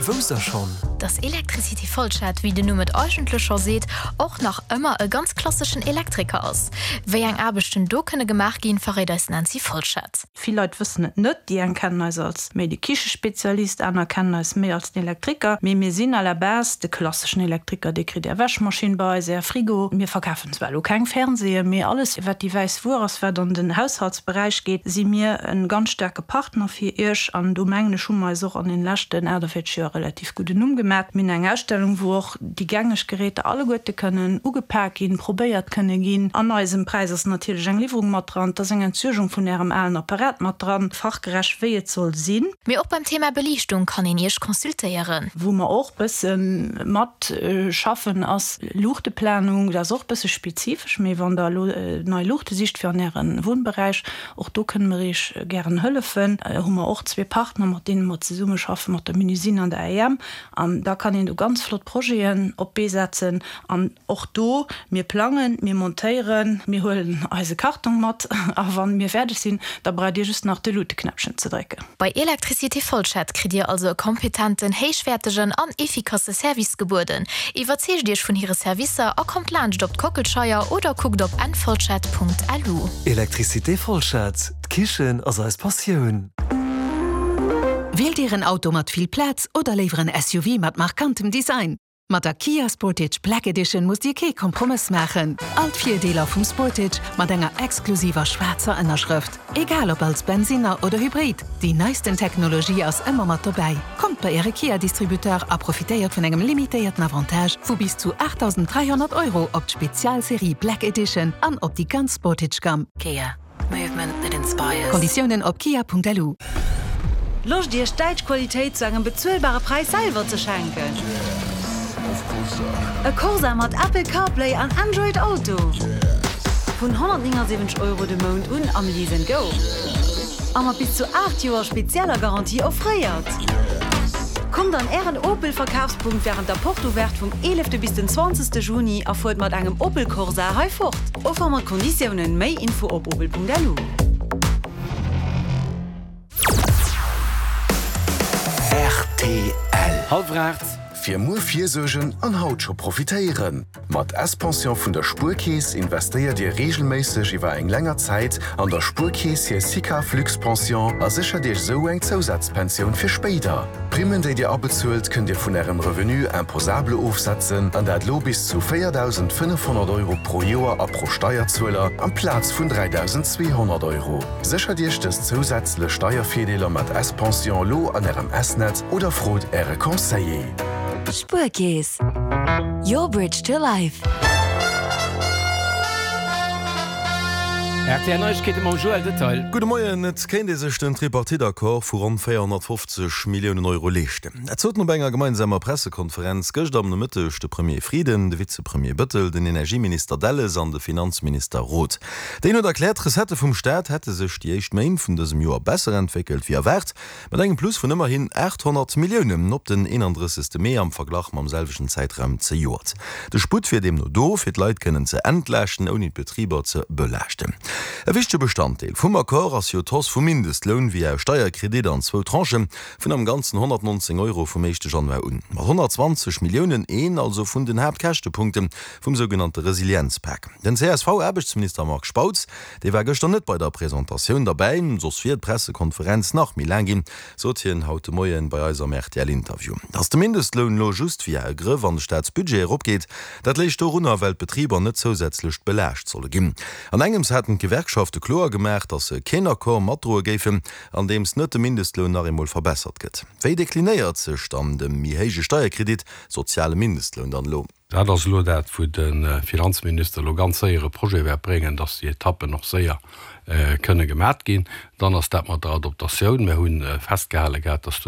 Wousst der schonn? Dass Electricité Folschette, wéi den Numm et eigentlech scho seet, och nach ëmmer e ganz klasseschen Elektriker ass. Wéi eng Aarbechten do kënne gemaach ginn, verréit eis d'Nancy Folschette. Vill Leit wëssen et net. Déi eng kennen eis als méi de Kichespezialist, aner kennen eis méi als den Elektriker. Mee mir sinn à la base de klasseschen Elektriker. Dir kritt Är Wäschmaschinn bei eis, Är Frigo. Mir verkafen zwar elo keng Fernseeën, mee alles wat déi wäiss Wuer ass, wat an den Haushaltsberäich geet, si mir e ganz staarke Partner fir Iech. An do mengen ech, hu mer eis och an den leschten 48 Joer relativ gudden Numm gemat. Mir hunn eng Ausstellung, wou och déi gängeg Geräter alleguerte kënnen ugepak ginn, probéiert kënne ginn. An eisem Präis ass natierlech eng Liwwerung mat dran, et ass eng Entsuergung vun Ärem alen Apparat mat dran, fachgerecht wéi et soll sinn. Mee och beim Thema Beliichtung kann een Iech consultéieren. Wou mer och bësse mat schaffen ass Luuchteplanung. Dat ass och bësse spezifesch, mee wann Der elo nei Luuchte sicht fir an Äre Wunnberäich, och do kënne mer Iech gären hëllefen. Hu mer och zwee Partner, mat deene mer zesummeschaffen, mat der Menuisine an der AEM. An da kann een do ganz flott Projeten op d'Bee setzen. An och do, mir plangen, mir montéieren, mir huelen eise Kartong mat a wa mir fäerdeg sinn, da braucht Dir just nach de Luuteknäppchen ze drécken. Bei Electricité Folschette kritt Dir also e kompetenten, héichwäertegen an efficace Service gebueden. Iwwerzeegt Iech vun hire Servicer a kommt laanscht op d'Kockelscheier oder kuckt op nfolschette.lu. Electricité Folschette, d'Kichen ass eis Passioun! Wielt Dir en Auto mat vill Plaz oder léiwer en SUV mat markantem Design? Mat der Kia Sportage Black Edition musst Dir kee Kompromëss maachen. All d'Virdeeler vum Sportage mat enger exklusiver schwaarzer Ënnerschrëft. Egal ob als Bensinner oder Hybrid, déi neisten Technologie ass ëmmer mat dobäi. Kommt bei Äre Kia-Distributeur a profitéiert vun engem limitéierten Avantage vu bis zu 8.300 Euro op d'Spezialserie Black Edition an op déi ganz Sportage-Gamm. Kia. Movement that inspires. Konditiounen op kia.lu. Loscht Iech däitsch Qualitéit zu engem bezuelbare Präis selwer ze schenken? E Corsa mat Apple CarPlay an Android Auto? Vun 179 Euro de Mount un am Lease and Go a mat bis zu 8 Joer spezieller Garantie offréiert! Kommt an Ären Opel Verkafspunkt wärend der Porte Ouverte vum 11 bis den 20 Juni a fuert mat engem Opel Corsa hei fort! Offer mat Konditiounen, méi Info op opel.lu. Rtl. Hallwer 8. Fir muer virsuergen an haut scho profitéieren! Mat S-Pension vun der Spuerkeess investéiert Dir reegelméisseg iwwer eng länger Zäit an der Spuerkeess hir SICAV Luxe-Pension a séchert Iech esou eng Zousazpensioun fir spéider. D'Primmen, déi Dir abezuelt, kënnt Dir vun Ärem Revenu imposable ofsetzen, an dat lo bis zu 4.500 Euro pro Joer a pro Steierzueler, amplaz vun 3.200 Euro. Séchert Iech dës zousätzlech Steiervirdeeler mat S-Pension lo an Ärem S-Netz oder frot Äre Conseiller. Spuerkeess, your bridge to life. Rtl Neiegkeete mam Joël Detail. Gudde Moien. Et kéint ee sech den Tripartite-Accord vu ronn 450 Milliounen Euro leeschten. Dat soten op enger gemeinsamer Pressekonferenz gëschter am Nomëtteg de Premier Frieden, de Vizepremier Bëttel, den Energieminister Delles an de Finanzminister Roth. Deen huet erkläert, d'Recettë vum Staat hätte sech déi éischt Méint vun dësem Joer besser entwéckelt wéi erwaart. Mat engem Plus vun ëmmerhin 800 Milliounen op den 31. Mee am Verglach mam selwechten Zäitraum zejoert. De Sputt wier deemno do, fir d'Leit kënnen ze entlaaschten, ouni d'Betriber ze belaaschten. E wichtege Bestanddeel vum Accord ass jo d'Hausse vum Mindestloun via e Steierkredit an zwou Tranchë vun am Ganzen 119 Euro vum éischte Januar un. Mat 120 Milliounen, een also vun den Haaptkäschtepunkte vum sougenannte Resilienzpak. Den CSV-Aarbechtsminister Marc Spautz Dee war gëschter net bei der Presentatioun derbäi, soss wier d'Pressekonferenz nach méi laang ginn, sot hien haut de Moien bei eis am RTL-Interview. Datt de Mindestloun elo just via e Grëff an de Staatsbudget eropgeet, dat léich dorunner, well d'Betriber net zousätzlech belaascht solle ginn. An engems haten d'Gewerkschafte kloer gemaach, datt se keen Accord matdroe géifen, andeems net de Mindestloun nach eemol verbessert gëtt. Wéi deklinéiert sech dann de méi héije Steierkredit, soziale Mindestloun, dann elo? Dat ass elo dat, wou de Finanzminister elo ganz séier e Projet wäert bréngen, dass déi Etappen och séier kënne gemat ginn. Dann ass dat mat der Adoptatioun. Mir hu festgehale gehat, dass do.